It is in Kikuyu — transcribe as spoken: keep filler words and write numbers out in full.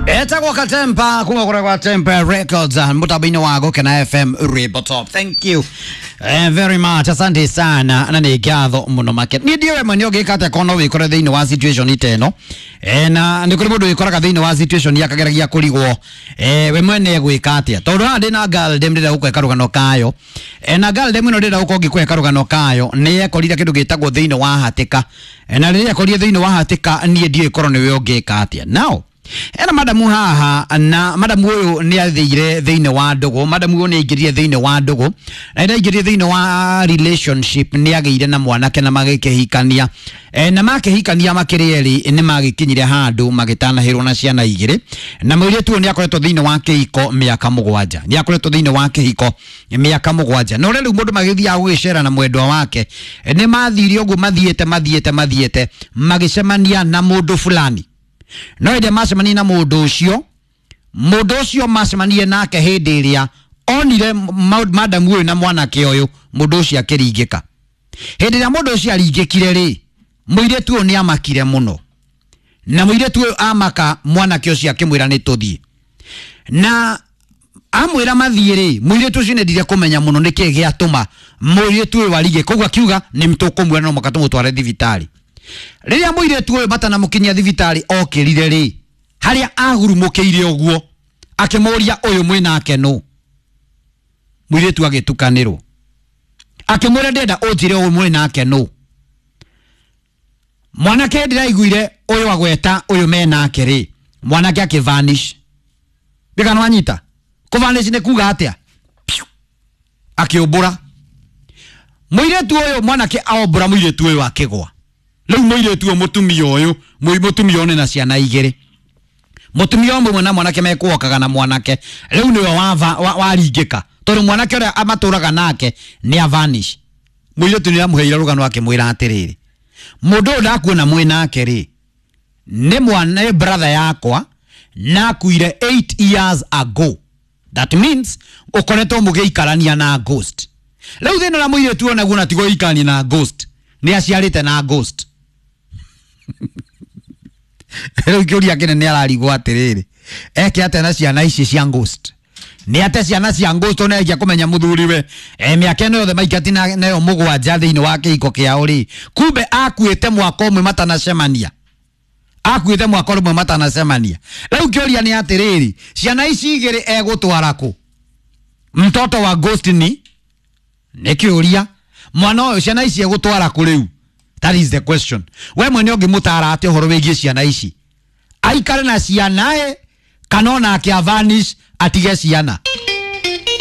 Etagwo Katempa kuma kura kwa Tempa Records mutambo-inĩ wa Gũkena F M Rwĩmbo Top. Thank you eh, very much, asante sana na nĩ ngatho mũno make. Niĩ ndiũĩ mwene ũngĩka atĩa korwo no wĩkore thĩinĩ wa situation ta ĩno, eh, na nĩ kũrĩ mũndũ wĩkoraga thĩinĩ wa situation akageragia kũrigwo eh, we mwene egwĩka atĩa, tondũ haha ndĩna girl dem ndĩrenda gũkũhe karũgano kayo, eh, na girl dem ĩno ndĩrenda gũkorwo ngĩkũhe karũgano kayo nĩ ekorire kĩndũ gĩtagwo thĩinĩ wa hatĩka, eh, na rĩrĩa ekorire thĩinĩ wa hatĩka niĩ ndiũĩ korwo nĩwe ũngĩka atĩa. Now ena madamu haha, na madamu ũyũ nĩ athire thĩinĩ wa ndũgũ, madamu ũyũ nĩ aingĩrire thĩinĩ wa ndũgũ, na rĩrĩa aingĩrire thĩinĩ wa relationship nĩ agĩire na mwanake na magĩkĩhikania, e, na makĩhikania makĩrĩ erĩ nĩ magĩkinyire handũ magĩtanahĩrwo na ciana igĩrĩ, na mũirĩtu ũyũ nĩ akoretwo thĩinĩ wa kĩhiko mĩaka mũgwanja, nĩ akoretwo thĩinĩ wa kĩhiko mĩaka mũgwanja, na ũrĩa rĩu mũndũ magĩthiaga gũgĩcera na mwendwa wake, nĩ mathire ũguo mathiĩte mathiĩte mathiĩte magĩcemania na mũndũ fulani. No hĩndĩ macemania na mũndũ ũcio, mũndũ ũcio macemanie nake hĩndĩ ĩrĩa onire madamu ũyũ na mwanake ũyũ, mũndũ ũcio akĩringĩka. Hĩndĩ ĩrĩa mũndũ ũcio aringĩkire rĩ, mũirĩtu ũyũ nĩ amakire mũno, na mũirĩtu ũyũ amaka mwanake ũcio akĩmwĩra nĩ tũthiĩ, na amwĩra mathiĩ rĩ, mũirĩtu ũcio nĩ endire kũmenya mũno nĩkĩĩ gĩatũma mũirĩtu ũyũ arige, koguo akiuga nĩ tũkũmuoya no mũhaka tũmũtware thibitarĩ. Rĩrĩa mũirĩtu ũyũ matanamũkinyia thibitarĩ okĩrire rĩ, harĩa ahurumũkĩire ũguo akĩmũria ũyũ mwĩnake nũ, mũirĩtu agĩtukanĩrwo, akĩmwĩra ndĩrenda ũnjĩre ũyũ mwĩnake nũ. Mwanake ndĩraiguire ũyũ agweta ũyũ menake rĩ, mwanake akĩvanish. Ndikana wanyita kũvanish nĩ kuga atĩa? Akĩũmbũra mũirĩtu ũyũ, mwanake aombũra mũirĩtu ũyũ akĩgwa. Rĩu mũirĩtu ũyũ mũtumia ũyũ, mũtumia ũyũ na ciana igĩrĩ, mũtumia ũmwe na mwanake mekuokaga na mwanake rĩu nĩwe waringĩka, tondũ mwanake ũrĩa amatũraga nake nĩ avanish. Mũirĩtu nĩ amũheire rũgano akĩmwĩra atĩrĩrĩ, mũndũ ũyũ ndakuona mwĩ nake rĩ, nĩ mwana nĩ brother yakwa na akuire eight years ago, that means ũkoretwo mũgĩikarania na ghost. Rĩu thĩna ũrĩa mũirĩtu ũyũ naguo na ti gũikarania na ghost, nĩ aciarĩte na ghost. Rĩu kĩũria kĩnene ararigwo atĩrĩrĩ, eke atĩa na ciana ici cia ghost? Nĩ ate ciana cia ghost ona ĩngĩa kũmenya mũthuriwe, e, mĩaka ĩno yothe maikati nayo mũgwanja thĩinĩ wa kĩhiko kĩao rĩ, kumbe akuĩte mwaka ũmwe matanacemania, akuĩte mwaka ũmwe matanacemania. Rĩu kĩũria nĩ atĩrĩrĩ, ciana ici igĩrĩ egũtwara kũ? Mtoto wa ghost ni nĩ kĩũria, mwana ũyũ ciana ici egũtwara kũ rĩu? That is the question. We mwene ũngĩmũtara atĩa ũhoro wĩgiĩ ciana ici? Aikare na ciana ĩ, kana onake avanish atige ciana?